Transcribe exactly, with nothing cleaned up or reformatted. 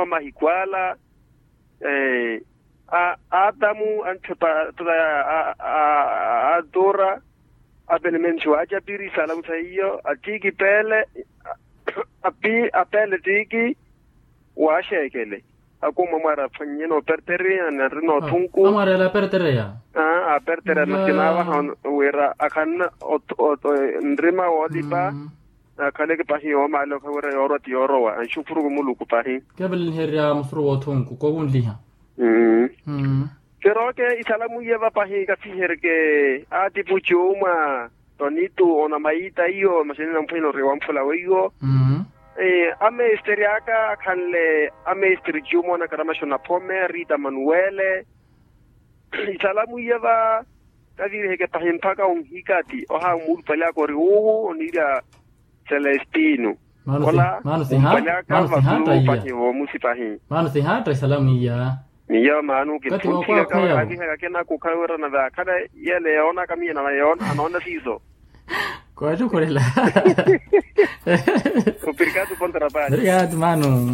Mahikwala, atamu anthepa a tora, apenementhi wa acapiri salamusa iyo atiki pele, api apele tiki, wa axeekele, akumwa mwari aphwannye noopertereya ni ari noothunku. Amwarela apertereya. Apertereya masi naavaha wira akhanna nrima woolipa. Akhaleke pahi yoomaale okha wira yoorwa ti yoorowa anxukhuru muluku pahi. Keveleliherya musuru woothunku kowunliha. Mmm. Keroke isalamu iye vapahi kafihereke, atipuchu mwa tonitu ona maita iyo masi nina mphwino ori wamphula weiwo. Amesiteri aka akhanle amesiteri juma onakara masi onaphome rita manuwele. Isalamu iye va kaviriheke pahi mpaka onhikati oha muulupali aka ori uwu oniirya celestino. Ola muulupali aka vasulu pahi vomusi pahi. Maano sihaatta isalamu iya. Miyo maano kitthu nthikaka kavihaka kenaku khawerana vakhale yele yoonaka miyo nava yoona anoona siiso. Kowatthukhurela. Opirikatu pontra pali. Pirikatu maano.